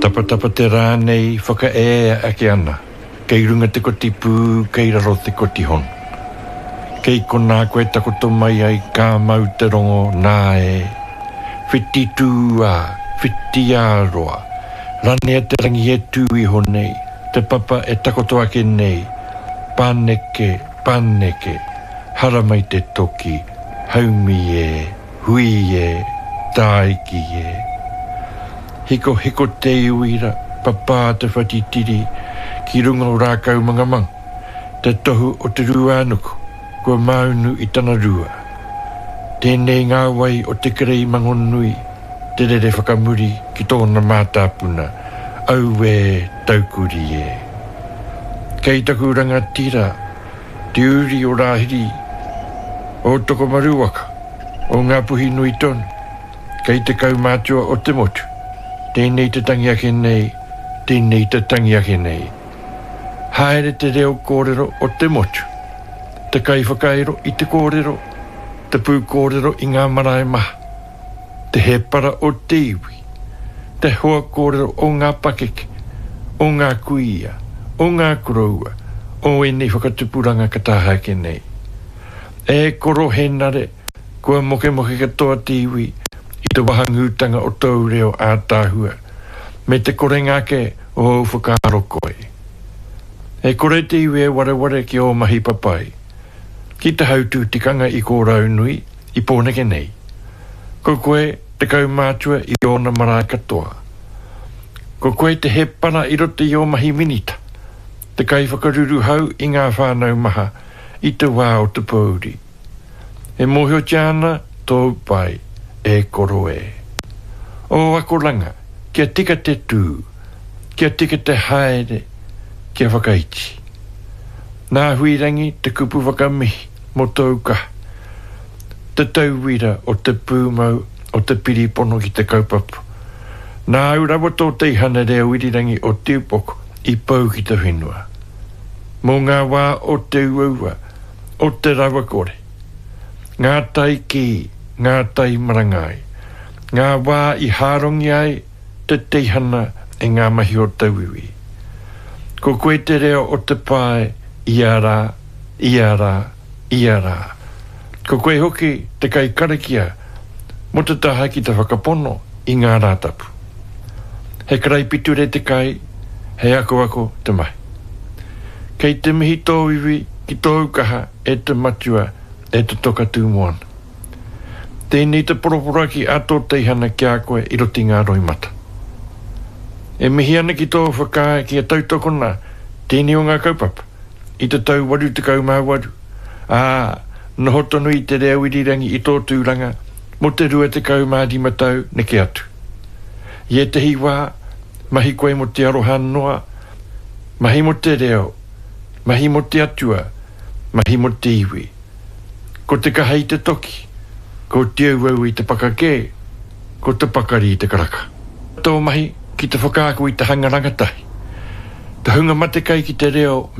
Tapatapa te rā nei whakaea ake ana, kei runga te koti pū, kei raro te koti hono. Kei konā koe takoto mai ai ka mau te rongo nā e. Whiti tū ā, whiti ā roa, ranea te rangi e tū iho nei, te papa e takoto ake nei, paneke, paneke, haramai te toki, haumi e. Hui e, tāiki e. Hikohiko te uira, papā te whatitiri ki runga o Rākaumangamanga, te tohu o te rūānuku kua māunu i tana rua. Tēnei ngā wai o te kerei mangonui te rere whakamuri ki tōna mātāpuna, auē taukuri e. Kei taku rangatira te uri o Rāhiri, o Tokomaru waka, o Ngāpuhi nui tonu, kei te kaumātua o te motu, tēnei te tangi ake nei, tēnei te tangi ake nei. Haere te reo kōrero o te motu, te kaiwhakairo i te kōrero, te pūkōrero i ngā marae maha, te hēpara o te iwi, te hoa kōrero o ngā pakeke, o ngā kuia, o ngā koroua, o ēnei whakatupuranga ka taha ake nei. E koro Henare, kua mokemoke katoa te iwi i te wahangūtanga o tōu reo ātaahua, me te korenga ake o ōu whakaaro koi. E kore te iwi e wareware ki ō mahi papai, ki te hautū tikanga i Kōraunui, i Pōneke nei. Ko koe te kaumātua i ōna marae katoa. Ko koe te hēpara i roto i ō mahi minita, te kaiwhakaruruhau i ngā whānau maha i te wā o te pōuri. E mōhiotia ana tōu pai, e koro e. Ō akoranga, kia tika te tū, kia tika te haere, kia whakaiti. Nā Huirangi te kupu whakamihi mō tōu kaha. Te tauira o te pūmau o te piripono ki te kaupapa. Nāu rawa tō teihana reo irirangi o Te Upoko i pau ki te whenua. Mō ngā wā o te uaua, o te rawakore. Ngā tai kī, ngā tai marangai. Ngā wā i hārongi ai te teihana e ngā mahi o tauiwi. Ko koe te reo o te pae ia rā, ia rā, ia rā. Ko koe hoki te kaikarakia mō te taha ki te whakapono i ngā Rātapu. He karaipiture te kai, he akoako te mahi. Kei te mihi tō iwi ki tōu kaha e te matua e te toka tū moana. Tēnei te poroporoaki a tō teihana ki a koe i roto i ngā roimata. E mihi ana ki tō whakaae kia tautokona tēnei o ngā kaupapa i te tau 88, ā, noho tonu i te reo irirangi i tō tūranga mō te 25 tau neke atu. I ētehi wā, mahi koe mō te aroha noa, mahi mō te reo, mahi mō te Atua, mahi mō te iwi. Ko te kaha i te toki, ko te auau i te pakakē, ko te pakari i te karaka. Tō mahi ki te whakaako i te hanga rangatahi, te hunga matekai ki te reo me.